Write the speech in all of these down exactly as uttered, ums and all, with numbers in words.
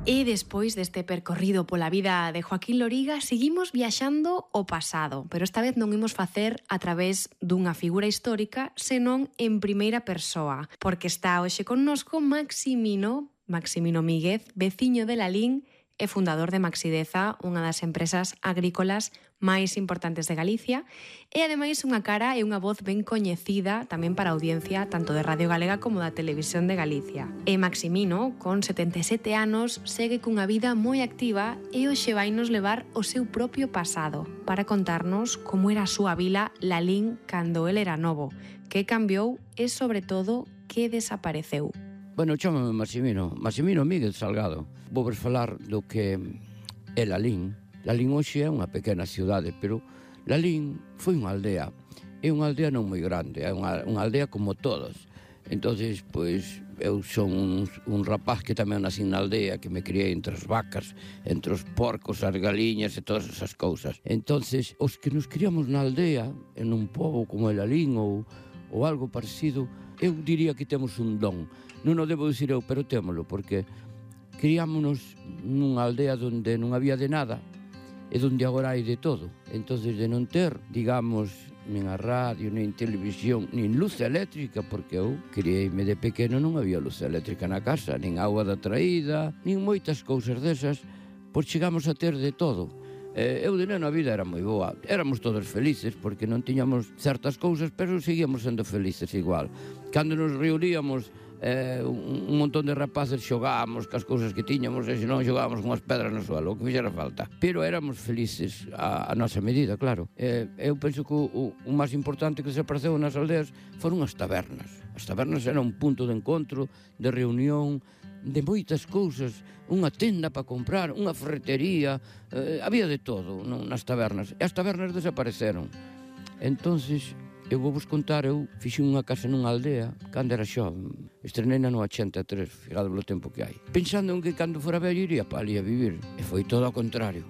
E despois deste percorrido pola vida de Joaquín Loriga, seguimos viaxando ao pasado, pero esta vez non imos facer a través dunha figura histórica, senón en primeira persoa, porque está hoxe connosco Maximino, Maximino Míguez, veciño de Lalín e fundador de Maxideza, unha das empresas agrícolas máis importantes de Galicia, e ademais unha cara e unha voz ben coñecida tamén para a audiencia tanto de Radio Galega como da Televisión de Galicia. E Maximino, con setenta e sete anos, segue cunha vida moi activa e hoxe vai nos levar o seu propio pasado para contarnos como era a súa vila Lalín cando el era novo, que cambiou e, sobre todo, que desapareceu. Bueno, chámame Maximino, Maximino Míguez Salgado. Vou vos falar do que é Lalín. Lalín hoxe é unha pequena cidade, pero Lalín foi unha aldea. É unha aldea non moi grande, é unha, unha aldea como todos. Entonces, pois, eu son un, un rapaz que tamén nací na aldea, que me criei entre as vacas, entre os porcos, as galiñas e todas esas cousas. Entonces, os que nos criamos na aldea, en un pobo como el Lalín ou, ou algo parecido, eu diría que temos un don. Non o debo dicir eu, pero témolo, porque criámonos nunha aldea onde non había de nada e onde agora hai de todo. Entón, de non ter, digamos, nin a radio, nin televisión, nin luz eléctrica, porque eu criei-me de pequeno, non había luz eléctrica na casa, nin agua da traída, nin moitas cousas desas, pois chegamos a ter de todo. Eh, eu de neno a vida era moi boa, éramos todos felices porque non tiñamos certas cousas, pero seguíamos sendo felices igual. Cando nos reuníamos eh, un, un montón de rapaces, xogábamos cas cousas que tiñamos e senón xogábamos con as pedras no suelo, o que fixera falta, pero éramos felices a, a nosa medida, claro. Eh, eu penso que o, o máis importante que desapareceu nas aldeas foron as tabernas. As tabernas eran un punto de encontro, de reunión, de moitas cousas, unha tenda para comprar, unha ferretería, eh, había de todo non, nas tabernas, e as tabernas desapareceron. Entonces, eu vou vos contar, eu fixen unha casa nunha aldea cando era xoven, estreneina no ochenta e tres, fijado polo tempo que hai, pensando en que cando fora vello iría para ali a vivir, e foi todo ao contrario.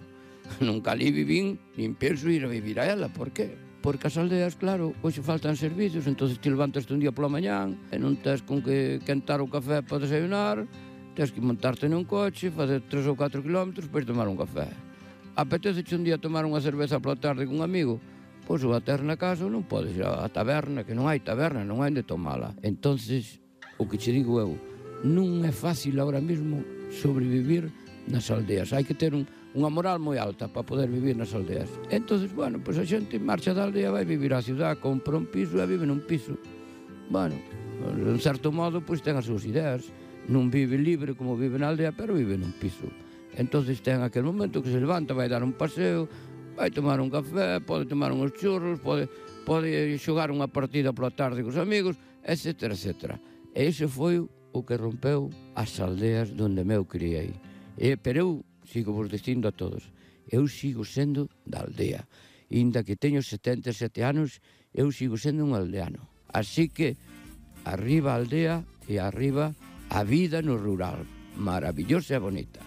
Nunca ali vivín, nin penso ir a vivir a ela, por que? Porque as aldeas, claro, hoxe faltan servizos, entón te levantas un día pola mañán e non tes con que quentar o café para desayunar, tens que montarte nun coche, fazer tres ou catro kilómetros para ir tomar un café. Apetece-che un día tomar unha cerveza pola tarde con un amigo, pois o a ter na casa non podes ir á taberna, que non hai taberna, non hai onde tomala. Entonces, o que che digo eu, non é fácil agora mesmo sobrevivir nas aldeas, hai que ter un unha moral moi alta para poder vivir nas aldeas. Entonces, bueno, pois a xente marcha da aldea, vai vivir á cidade, compra un piso e vive nun piso. Bueno, en certo modo, pois ten as súas ideas. Non vive libre como vive na aldea, pero vive nun piso. Entonces ten aquel momento que se levanta, vai dar un paseo, vai tomar un café, pode tomar uns churros, pode, pode xogar unha partida pola tarde cos amigos, etcétera, etcétera. E ese foi o que rompeu as aldeas donde me eu criei. E, pero eu sigo vos dicindo a todos, eu sigo sendo da aldea. Inda que teño setenta e sete anos, eu sigo sendo un aldeano. Así que, arriba a aldea e arriba a vida no rural, maravillosa e bonita.